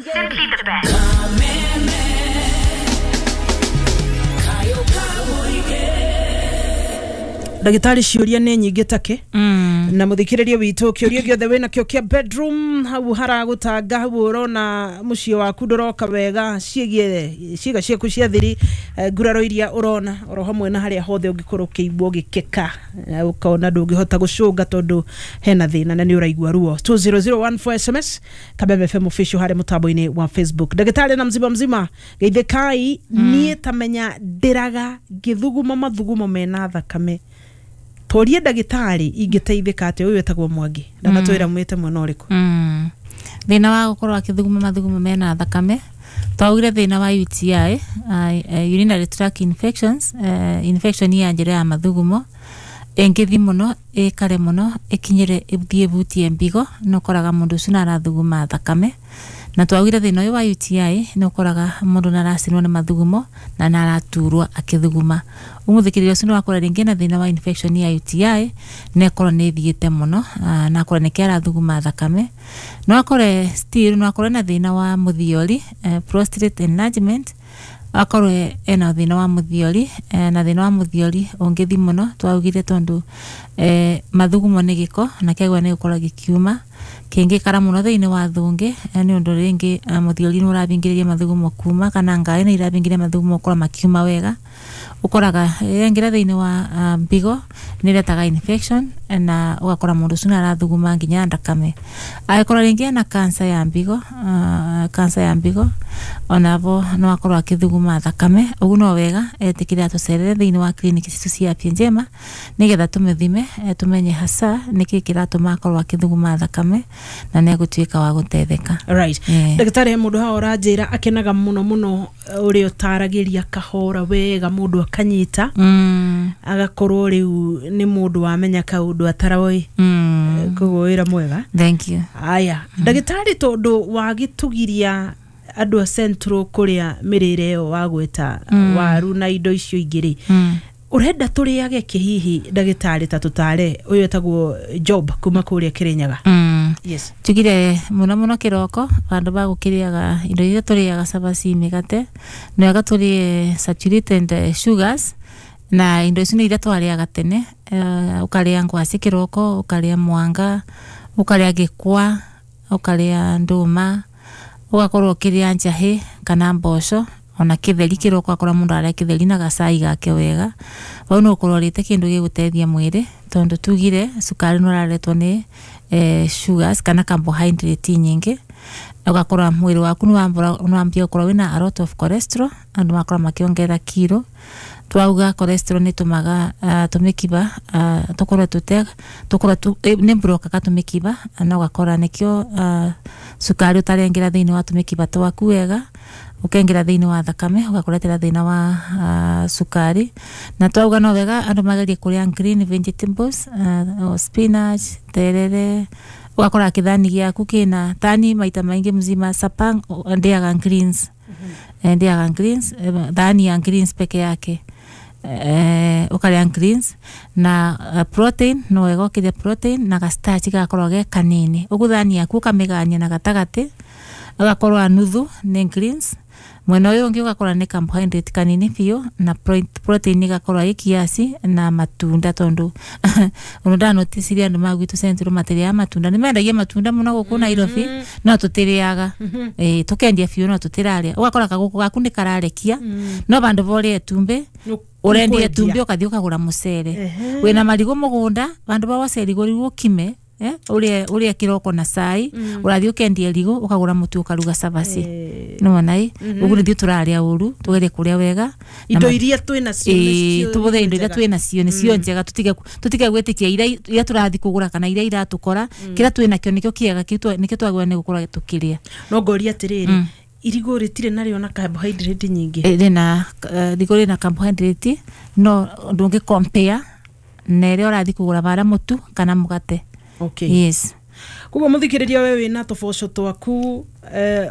Simply the best. Ndagĩtarĩ, ciũria nĩ nyingĩ take na mũthikĩrĩria witũ, kĩũria gĩothe wĩna kĩo kĩa bedroom, hau haragũtanga, hau ũrona mũciĩ waku ndũroka wega, ciĩgiĩ ciĩga ciaku cia thiri, nguraro iria ũrona, oro hamwe na harĩa hothe ũngĩkorwo ũkĩigua ũgĩkeka, ũkona ndũngĩhota gũcũnga tondũ hena thĩna na nĩ ũraigua ruo, 20014 SMS, Kabebe FM official harĩa mũtambo-inĩ wa Facebook. Ndagĩtarĩ na mzima mzima, geithĩkai, niĩ tamenya ndĩraga ngĩthuguma mathugumo mena thakame, torie ndagĩtarĩ ingĩteithĩka atĩa. Ũyũ wĩtagwo Mwangi, ndanatwĩra mwĩte mwena ũrĩkũ. Thĩna wa gũkorwo akĩthuguma mathugumo mena thakame, twaugire thĩna wa UTI, urinary tract infections, infection ya njĩra ya mathugumo ĩngĩthi mũno, ĩkare mũno, ĩkinyĩre ĩthiĩ ĩbutie mbigo, nĩ ũkoraga mũndũ ũcio nĩ arathuguma thakame. Na twaugire thĩna ũyũ wa UTI nĩ ũkoraga mũndũ nĩ aracinwo nĩ mathugumo na nĩ araturwo akĩthuguma. Ũmũthikĩrĩria ũcio nĩ wakora rĩngĩ na thĩna wa infection ya UTI na ĩkorwo nĩ ĩthiĩte mũno, na akorwo nĩkĩo arathuguma thakame. No akore still no akore na thĩna wa mũthiori, prostate enlargement, akorwo ena thĩna wa mũthiori, na thĩna wa mũthiori ũngĩthi mũno, twaugire tondũ mathugumo nĩ gĩko na kĩagĩrĩirwo nĩ gũkorwo gĩkiuma, kĩngĩkara mũno thĩinĩ wa thũngĩ, nĩ ũndũ rĩngĩ mũthiori nĩ ũrabingĩrĩria mathugumo kuma, kana ngaĩ nĩ irabingĩrĩria mathugumo gũkorwo makiuma wega. Ũkoraga yaingĩra thĩinĩ wa mbigo nĩ ĩretaga infection, na ũgakora mũndũ ũcio nĩ arathuguma nginya thakame. Angĩkorwo rĩngĩ ena cancer ya mbigo, cancer ya mbigo onavo no akorwo akĩthuguma thakame. Ũguo no wega etĩkĩre atũcerere thĩinĩ wa clinic citũ cia Afya Njema nĩgetha tũmĩthime, tũmenye hasa nĩkĩ kĩratũma akorwo akĩthuguma thakame, na nĩ egũtuĩka wa gũteithĩka. Right. Ndagĩtarĩ, he mũndũ haha ũranjĩra akenaga mũno mũno, ũrĩa ũtaragĩria kahora wega, mũndũ akanyita, agakorwo rĩu nĩ mũndũ wamenya kaũndũ ataroĩ. Koguo wĩra mwega. Thank you. Aya, ndagĩtarĩ, tondũ wagĩtũgiria andũ a Central kũrĩa mĩrĩre ĩyo wagweta, waru na indo icio ingĩ rĩ, ũrenda tũrĩage kĩ hihi, ndagĩtarĩ? Ta tũtare. Ũyũ etagwo Job kuma kũrĩa Kĩrĩnyaga. Yes. Tugire mũno mũno kĩroko, vandũ ba gũkĩrĩaga indo iria tũrĩaga, cabaci, mĩgate, nĩ wega tũrĩe saturated sugars, na indo icio nĩ iria twarĩaga tene. Ũkarĩa ngwacĩ kĩroko, ũkarĩa mwanga, ũkarĩa gĩkwa, ũkarĩa ndũma, ũgakorwo ũkĩrĩa njahĩ kana mboco, ona kĩtheri kĩroko, akora mũndũ arĩa kĩtheri na gacai gake wega. Hau nĩ ũkorwo ũrĩte kĩndũ gĩgũteithia mwĩrĩ, tondũ tugire cukari nĩ ũraretwo nĩ sugars kana carbohydrate nyingĩ. Ũgakora mwĩrĩ waku nĩ wambia gũkorwo wĩna a lot of cholesterol, andũ makorwo makĩongerera kiro. Twauga cholesterol nĩ tũmaga tũmĩkiba tũkorwo tũte tũkorwo nĩ blokaga tũmĩkiba, na ũgakora nĩkĩo cukari ũtarengera thĩinĩ wa tũmĩkiba twaku wega, ũkaingĩra thĩinĩ wa thakame, ũgakũretera thĩna wa cukari. Na twauga no wega andũ magerie kũrĩa green vegetables, spinach, terere, ũgakora kĩthani gĩaku kĩna tani maita maingĩ mzima supper ndĩaga greens. Ndĩaga greens, thani ya greens peke yake, ũkarĩa greens na protein. No wega ũkĩrĩa protein na ga starch gakorwo ge kanini. Ũguo thani yaku ũkamĩgania na gatagatĩ, ũgakorwo a nuthu nĩ greens, mwena ũyũ ũngĩ ũgakora nĩ carbohydrate kanini biũ, na protein ĩgakorwo ĩ kiasi, na matunda, tondũ ũndũ ndanoticirie andũ ma gwitũ Central matirĩaga matunda. Nĩ mendagia matunda mũno gũkũ Nairobi, no tũtirĩaga. Tũkendia biũ no tũtirarĩa. Ũgakora kagũkũ gaku nĩ kararekia, no vandũ va ũrĩe itumbĩ, ũrendia itumbĩ, ũgathiĩ ũkagũra mũcere. Wĩna marigũ mũgũnda, vandũ va woce irigũ rĩu ũkime, ũrĩe kĩroko na cai, ũrathiĩ ũkendia irigũ, ũkagũra mũtu, ũkaruga cabaci. Nĩwona ĩ? Ũguo nĩthuĩ tũrarĩa ũru, tũgerie kũrĩa wega na Indo iria twĩ nacio nĩcio tũbũthĩre indo iria njega. Twĩ nacio nĩcio njega. Tũtige gwĩtĩkia iria tũrathiĩ kũgũra kana iria iratũkora. Kĩrĩa twĩ nakĩo nĩkĩo kĩega, kĩu nĩkĩo twagĩrĩirwo nĩ gũkorwo tũkĩrĩa. No ngoria atĩrĩrĩ, irigũ rĩtirĩ narĩo na carbohydrate nyingĩ? Rĩna irigũ rĩna carbohydrate, no ndũngĩ compare na ĩrĩa ũrathiĩ kũgũra bara, mũtu kana mũgate. Okay. Yes. Koguo mũthikĩrĩria, we wĩna tũboco twaku.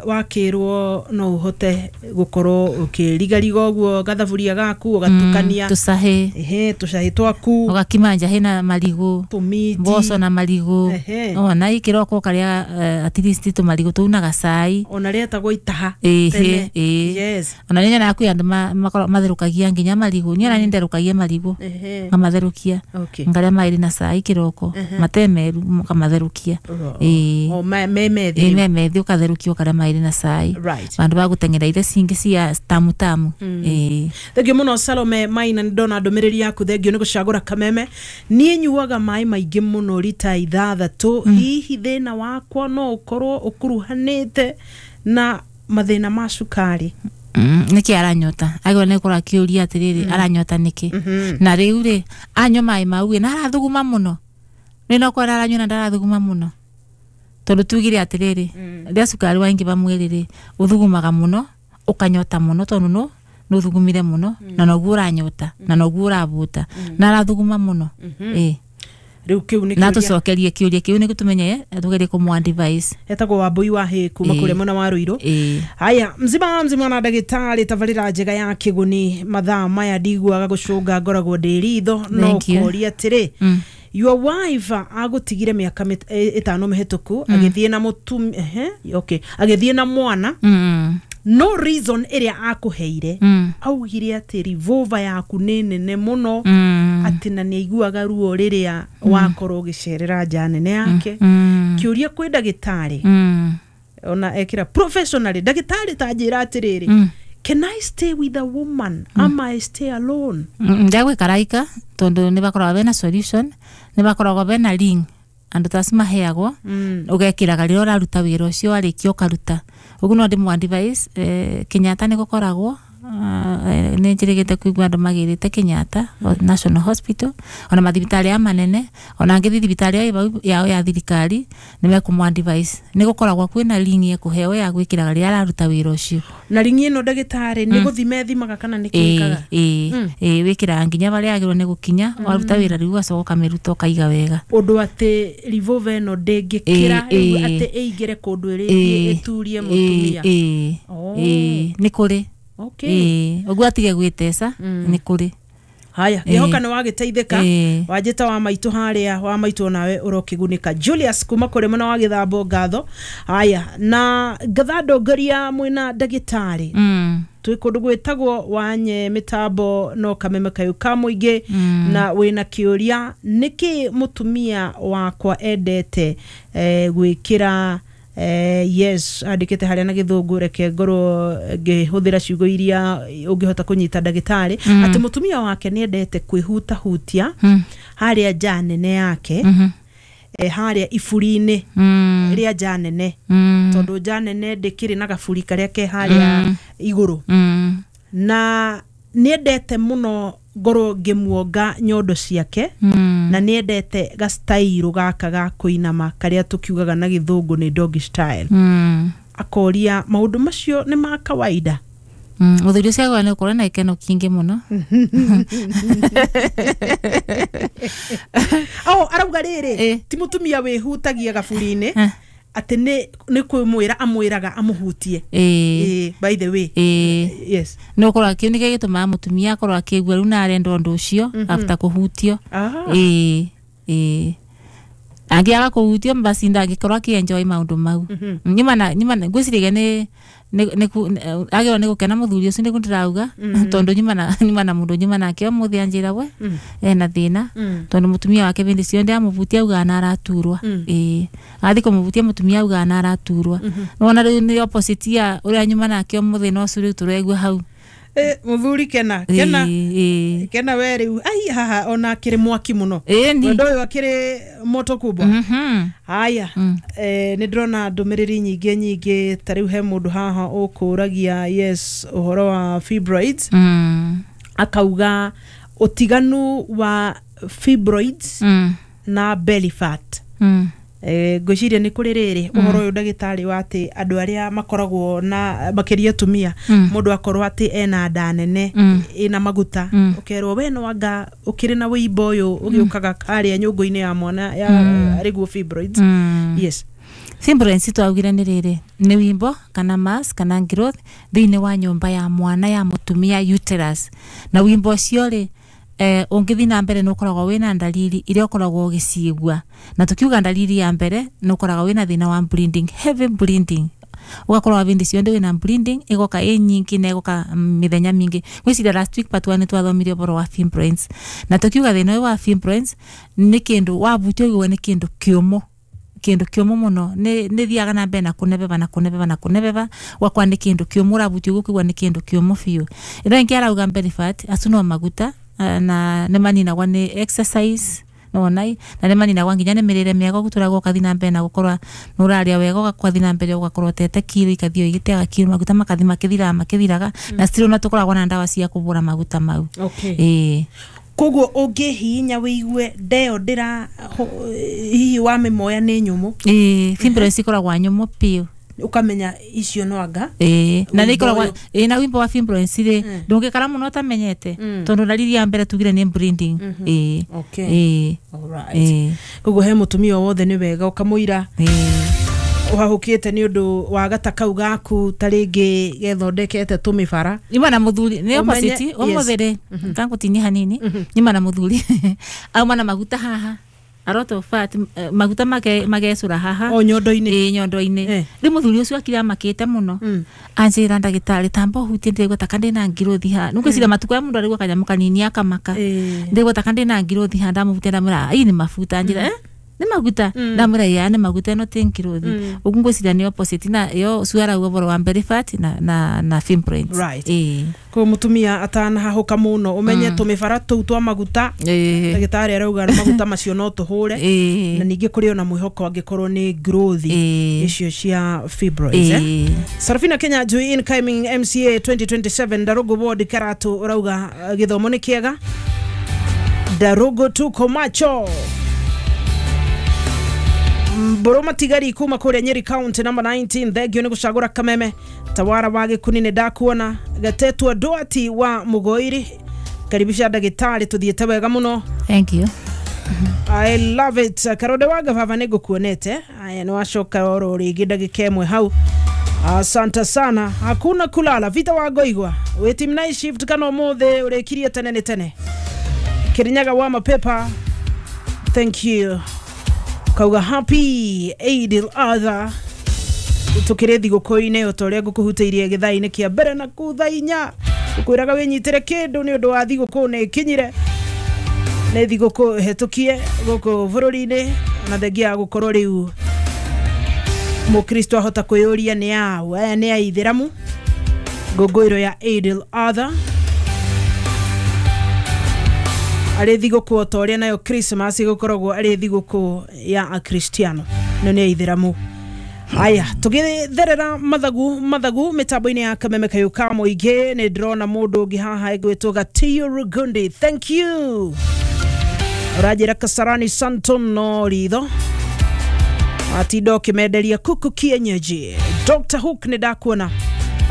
Wakirwo no uhote gukorwo ukirigariga uguo gathaburia gaku ugatukania tucahi. Ehe, tucahi twaku. Ugakima njahi na marigu. Tumiti. Mboco na marigu. Ehe. Ona ikiroko ukaria at least tumarigu tuu na gacai. Ona rĩetagwo itaha Ĩhĩ, tene. ĩĩ. Yes. Ona nĩ nyonaga kwĩ andũ matherukagia nginya marigu. Niĩ ona nĩ nderukagia marigu. Ehe. Ngamatherũkia. Okay. Ngarĩa maĩrĩ na cai kĩroko matemeru ũkamatherũkia. Ĩĩ. O me methi. Ĩĩ, me methi ũkatherũkia ũkarĩa maĩrĩ na cai. Right. Vandu va guteng'era iria cingi cia tamu tamu. Ĩĩ. Thengio muno Salome Maina, nĩ ndona ndũmĩrĩri yaku. Thengio nĩ gũcagũra kameme. Niĩ nyuaga maĩ maingĩ mũno rita 6. Hihi thĩna wakwa no ũkorwo ũkuruhanĩte na mathĩna ma cukari? Nĩkĩ aranyota agĩrwo nĩ gũkorwo akĩũria atĩrĩrĩ, aranyota nĩkĩ? Na rĩu rĩ, anyua maĩ mau ĩ, na arathuguma mũno, nĩ no korwo aranyua na ndarathuguma mũno, tondũ tugire atĩrĩrĩ, rĩrĩa cukari waingĩba mwĩrĩ rĩ, ũthugumaga mũno, ũkanyota mũno, tondũ no nĩũthugumire mũno na noguo ũranyota na noguo ũrabuta na arathuguma mũno. Ĩ. Rĩu kĩu nĩ Na kĩũria. Tũcokerie kĩũria kĩu nĩguo tũmenye tũgerie kũmũ advise. Etagwo Wambui wa hĩ kuma Ĩĩ. kũrĩa mwena wa Ruiru. Ĩĩ. Haya, mzima mzima na ndagĩtarĩ, tabarĩra njega ya kĩguni. Mathaa maya ndiguaga gũcũnga, ngoragwo ndĩ ritho no Thank you. kũria atĩrĩ, your wife agũtigire mĩaka 5 mĩhĩtũku, agĩthiĩ na mũtumi, ehe, okay, agĩthiĩ na mwana. No reason ĩrĩa akũheire, augire atĩ revolver yaku nĩ nene mũno, atĩ na nĩ aiguaga ruo rĩrĩa wakorwo ũgĩcerera nja nene yake. Kĩũria kwĩ ndagĩtarĩ, ona ekĩra professionally, ndagĩtarĩ, ta njĩra atĩrĩrĩ, can I stay with a woman ama I stay alone? Ndagwikaraika tondu nĩ bakoragwo bena solution, nĩ bakoragwo bena ring andu ta acio maheagwo, ugekiraga rĩrĩa ũraruta wĩra ũcio, warĩkia ũkaruta ũguo. No ndĩmũ advise, Kenyatta nĩ gũkoragwo, nĩ njĩrĩgĩte kũigua andũ magĩrĩte Kenyatta National Hospital, ona mathibitarĩ aya manene, ona angĩthiĩ thibitarĩ ĩyo ĩ vau yao ya thirikari nĩ mekũmũ advise. Nĩ gũkoragwo kwĩna ring ekũheo ya gwĩkĩraga rĩrĩa araruta wĩra ũcio. Na ringi ĩno, ndagĩtarĩ, nĩ gũthima ĩthimaga kana nĩ kĩkaga? Ĩĩ, ĩĩ, wĩkĩraga nginya harĩa yagĩrĩirwo nĩ gũkinya. Waruta wĩra rĩu ũgacoka ũkamĩruta ũkaiga wega. Ũndũ atĩ revolver ĩno ndĩngĩkĩra rĩu atĩ ĩingĩre kũndũ ĩrĩthiĩ ĩturie mũtumia. Ĩĩ. Oh. Ĩĩ, nĩ kũrĩ. Okay. Ĩĩ, ũguo atige gwĩteca, nĩ kũrĩ. Haya, ngĩhoka nĩ wagĩteithĩka. Ĩĩ. Wanjĩta wa maitũ harĩa wa maitũ, nawe ũrokĩgunĩka. Julius kuma kũrĩ mwena wa Gĩthambo, ngatho. Haya, na ngatha ndongoria mwĩna ndagĩtarĩ. Twĩ kũndũ gwĩtagwo wanye mĩtambo no kameme kayũ ka mũingĩ, na wĩna kĩũria, nĩkĩ mũtumia wakwa endete gwĩkĩra, yes, andĩkĩte harĩa na gĩthũngũ, reke ngorwo ngĩhũthĩra ciugo iria ũngĩhota kũnyita ndagĩtarĩ, atĩ mũtumia wake nĩ endete kwĩhutahutia harĩa nja nene yake, harĩa iburi-inĩ rĩa nja nene, tondũ nja nene ndĩkĩrĩ na gaburi karĩa ke harĩa igũrũ, na nĩendete mũno ngorwo ngĩmuonga nyondo ciake, na nĩendete gastairũ gaka ga kũinama karĩa tũkiugaga na gĩthũngũ nĩ doggy style. Akoria maũndũ macio nĩ ma kawaida? Mũthuri ũcio agĩrĩirwo nĩ gũkorwo na gĩkeno kĩingĩ mũno. Oh, arauga rĩrĩ, ti mũtumia wĩhutagia gaburi-inĩ, atĩ nĩ kwĩmwĩra amwĩraga amũhutie. Ĩĩ. Ĩĩ, by the way. Ĩĩ. Yes. Nĩ gũkorwo kĩu nĩkĩo gĩtũmaga mũtumia akorwo akĩigua rĩu na arenda ũndũ ũcio after kũhutio. Ĩĩ, ĩĩ, angĩaga kũhutio basi ndangĩkorwo akĩenjoy maũndũ mau. Nyuma na ngwĩciragia nĩ agĩrĩirwo nĩ gũkena mũthuri ũcio, nĩguo ndĩrauga, tondũ nyuma na mũndũ nyuma nake ũmũthĩ anjĩra we ena thĩna, tondũ mũtumia wake hĩndĩ ciothe amũbutia augaga na araturwa. Ĩĩ, athiĩ kũmũbutia mũtumia augaga na araturwa. Nĩwona rĩu nĩ opposite ya ũrĩa nyuma nake ũmũthĩ, no ũcio rĩu tũraigua hau. Mũthuri, kena kena. Ĩĩ. Kena we rĩu, ai, haha ona akĩrĩ mwaki mũno. Ĩni. Wendo ũyũ akĩrĩ moto kubwa. Haya, nĩ ndĩrona ndũmĩrĩri nyingĩ nyingĩ. Ta rĩu he mũndũ haha ũkũragia, yes, ũhoro wa fibroids, akauga ũtiganu wa fibroids na belly fat. Ngwĩciria nĩ kũrĩ rĩrĩ ũhoro ũyũ, ndagĩtarĩ, wa atĩ andũ arĩa makoragwo na makĩria atumia, mũndũ akorwo atĩ ena nda nene ĩna maguta, ũkerwo we no anga ũkĩrĩ na wĩimbo ũyũ ũgĩũkaga harĩa nyũngũ-inĩ ya mwana ya arĩguo fibroids. Yes. Fibroids twaugire nĩ rĩrĩ nĩ wimbo kana mass kana growth thĩinĩ wa nyũmba ya mwana ya mũtumia uterus na wimbo ũcio rĩ ũngĩthiĩ na mbere nĩ ũkoragwo wĩna ndariri iria ũkoragwo ũgĩciigua na tukiuga ndariri ya mbere nĩ ũkoragwo wĩna thĩna wa bleeding, heavy bleeding, ugakorwo vindi cionde wina bleeding igoka ĩ nyingi na igoka mithenya mingi. Gwiciria last week part 1 nĩ twathomire ũhoro wa fibroids na tukiuga thĩna ũyũ wa fibroids nĩ kĩndũ wabutio ũigua nĩ kĩndũ kĩũmũ, kindu kiumu muno ni thiaga na mbere na kunebeba na kunebeba na kunebeba wakwa ni kindu kiumu urabuti gukigwa ni kindu kiumu biu. Ino ingi arauga mbere fat acu no maguta na ni maninagwa ni exercise no nai na ni maninagwa nginya ni mirire miega guturagwo ukathi na mbere na gukorwa nuraria wega ugakwathi na mbere ugakorwo tete kiro ikathio igiteaga kiro maguta makathi makithiraga makithiraga na still na tukoragwo na ndawa cia kubura maguta mau. Okay. Koguo ũngĩhihinya wĩigue ndeo ndĩra hihi wa mĩmoya nĩ nyũmũ. Fibroids ikoragwo nyũmũ piũ ukamenya icio no anga. Na nĩ ikoragwo na wimbo wa fibroids rĩ ndũngĩkara mũno ũtamenyete tondũ ndariri ya mbere tugire nĩ bleeding. Okay. Alright. Koguo he mũtumia wothe nĩ wega ũkamũira uhahukite ni undu wa gata kau gaku ta ringi gethondekete tumibara nyuma na muthuri ni opposite umuthire ngangutinia hanini nyuma na muthuri auma na maguta haha aroto fat maguta make magecura haha o nyondo-ini nyondo-ini riu muthuri ucio akira makite muno anjira ndagitari tamba hutie ndigwa ta kandi na ngirothi ha nugwicira matuko ya mundu arigwa kanyamu kanini akamaka ndigwa ta kandi na ngirothi ha ndamuhutia ndamwira ii ni mafuta anjira ni maguta ndamwira ya ni maguta no ti ngirothi ugu ngwiciria ni opposite na yo suara ugo wa mbere fat na fibroids. Right. Ko mutumia atanahahuka muno umenye tumibara tuu twa maguta ndagitari arauga maguta macio no tuhure na ningi kuri ona mwihoko angikorwo ni growth icio cia fibroids. Sarafina Kenya Jui incoming MCA 2027 Ndarugu ward Karatu urauga githomo ni kiega Ndarugu tuko macho. Boroma Tigari kuma kuria Nyeri County number 19 thengio ni gucagura Kameme Tawara wa Gikuni ni ndakuona Gatetwa Duati wa Mugoiri karibisha ndagitari tuthiete wega muno. Thank you. I love it. Karode wa gavava ni ngukuonete aya ni wacoka oro ringi ndagika imwe hau. Asante sana. Hakuna kulala vita wa goigwa we team night shift kana umuthi urikirie tene ni tene Kirinyaga wa mapepa thank you. Kauga happy Eid al-Adha tukire thiguku-inĩ o ta ũrĩa ngũkũhutĩirie gĩthaa-inĩ kĩa mbere na kũu thaa inya ngũkwĩraga wĩnyitĩre kĩndũ nĩ ũndũ wa thigũkũ nĩ ĩkinyire nĩ thigũkũ hetũkie gũkũ bũrũri-inĩ na thengia ya gũkorwo rĩu mũkristo ahota kwĩyũria nĩ aũ aya nĩ aithĩramu ngũngũĩro ya Eid al-Adha arĩ thigũkũ o ta ũrĩa nayo Christmas ĩgũkoragwo arĩ thigũkũ ya akristiano no nĩ aithĩramu. Aya tũgĩtherera mathagu mĩtambo-inĩ ya Kameme Kayũ ka Mũingĩ nĩ ndĩrona mũndũ ũngĩ haha egwĩtwo Gatiyo Rugundi thank you ũranjĩra Kasarani Santon no ritho atinda ũkĩmenderia kuku kienyeji. Dr. Hook nĩ ndakuona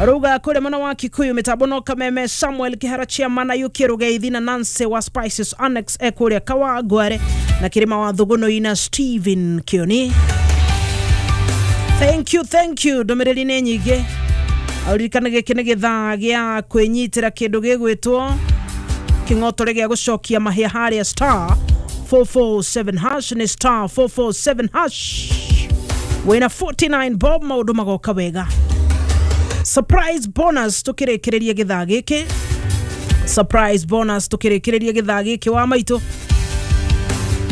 aruga kule mwana wa Kikuyu mitambo no Kameme Samuel Kihara chairman Ayuki Rugeithi na Nancy wa Spices Annex ekuria Kawangware na Kirima wa Thuguno ina Steven Kioni. Thank you, thank you. Ndomereri nĩ nyingĩ aririkana gĩkĩ nĩ gĩthaa gĩa kwĩnyitĩra kĩndũ gĩgwĩtwo kĩng'otore gĩa gũcokia mahĩa harĩa star 447 hash nĩ star 447 hash wĩna 49 bob maũndũ magoka wega. Surprise bonus tukirikiriria githaa giki. Surprise bonus tukirikiriria githaa giki wa maitu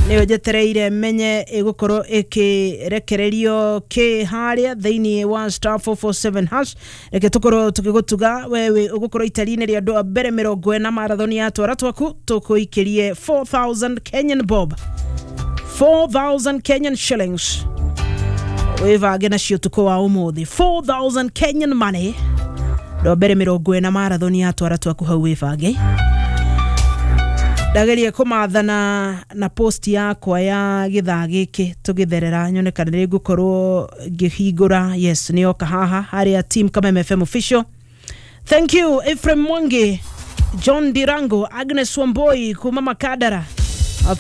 niyo njetereire menye igukorwo ikirekererio ki haria thiini wa star 447 hash reke tukorwo tukigutuga wewe ugukorwo itari-inĩ rĩa andũ a mbere 40 marathoni ya twara twaku tukuikirie 4000 Kenyan bob 4000 Kenyan shillings wivange nacio ũtukũ wa ũmũthĩ 4000 Kenyan money ndo mbere 40 marathoni ya twara twaku hau wivange. Ndagerie kũmathana na post yakwa ya gĩthaa gĩkĩ tũgĩtherera nyone kana nĩ ngũkorwo ngĩhingũra. Yes, nĩ yoka haha harĩa team Kameme FM official. Thank you Ephraim Mwangi, John Dirango, Agnes Wamboi kuma Makadara,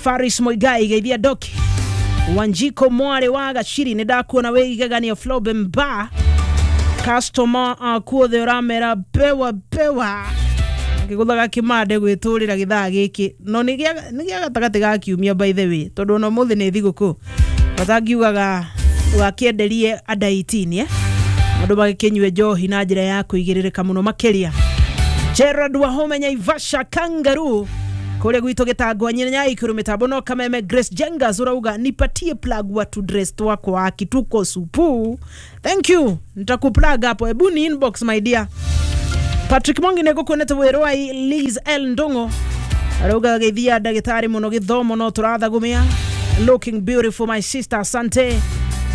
Faris Moigai geithia Doki Wanjiko mwari wa Gaciri nĩ ndakuona wĩ igegania Floben Bar customer aku othe ũramera bewa bewa ngĩgũthaga kĩmande gwĩtũrĩra gĩthaa gĩkĩ no nĩ gĩa gatagatĩ ga kiumia by the way tondũ ona ũmũthĩ nĩ thigũkũ batangiugaga ũgakĩenderie under 18 andũ magĩkĩnyue njohi na njĩra ya kũigĩrĩrĩka mũno makĩria. Gerard Wahome Nyaivasha Kangaroo kũrĩa gwitũ gĩtangwa Nyaikuru mĩtambo no Kameme. Grace Jengas urauga nipatie plug wa to dress twakwa kituko supu. Thank you, nitakuplug hapo, hebu ni inbox my dear. Patrick Mongi nĩngũkuonete wĩrwai. Liz L Ndung'u arauga geithia ndagĩtarĩ mũno gĩthomo no tũrathagumia. Looking beautiful my sister, asante.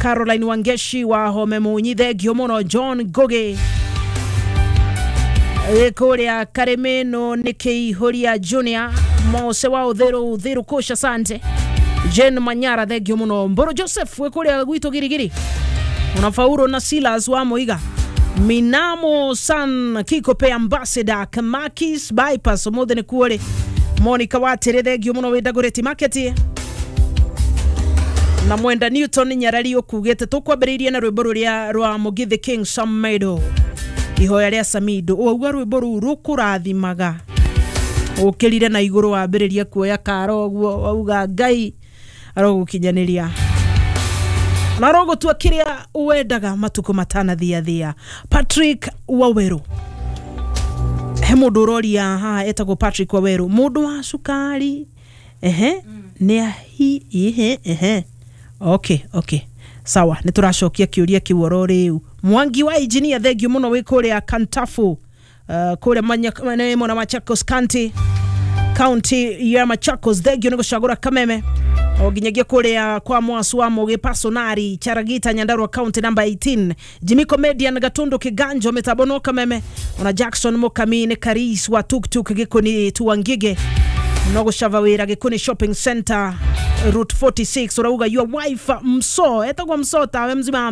Caroline Wangeshi wa Home Munyi, thengio mũno. John Ngugi kũrĩa Karĩmĩnũ nĩ Kĩihũria Junior Mose wa Ũthĩrũ Ũthĩrũ kũca, asante. Jane Manyara, thengio mũno. Mbũrũ Joseph wĩ kũrĩa gwitũ Girigiri ona Fauro na Silas wa Moiga Minamo San Kikope Ambassador Kamakis Bypass ũmũthĩ nĩ kuo rĩ. Monica Watĩrĩ, thengio mũno wĩ Dagoretti Market na Mwenda Newton Nyarari ũkugĩte tũkwambĩrĩirie na rwĩmbo rũrĩa rwa Mugithi King Samedo ihoya rĩa Samido wauga rwĩmbo rũu rũkũrathimaga ũkĩrire na igũrũ wambĩrĩria kuoya karo ũguo wauga Ngai arogũkinyanĩria na arogũtua kĩrĩa wendaga matukũ matanathiathia. Patrick Waweru, he mũndũ ũroria haha etagwo Patrick Waweru, mũndũ wa cukari ehe nĩ ahi ehe ehe okay sawa, nĩ tũracokia kĩũria kĩu oro rĩu. Mwangi wa engineer, thengio mũno wĩ kũrĩa Kantafu, kũrĩa mwena Machakos County, county ya Machakos, thengio nĩ gũcagũra Kameme o nginyagia kũrĩa kwa mwasu wa Mũgĩ Personari Charagita Nyandarua county number 18. Jimmy Comedian Gatundu Kiganjo mĩtambo no Kameme ona Jackson Mukami nĩ Karis wa tuktuk Gĩkũni Tuangige no gũcava wĩra Gĩkũni Shopping Center Route 46 ũrauga your wife mso etagwo mso tawe mzima.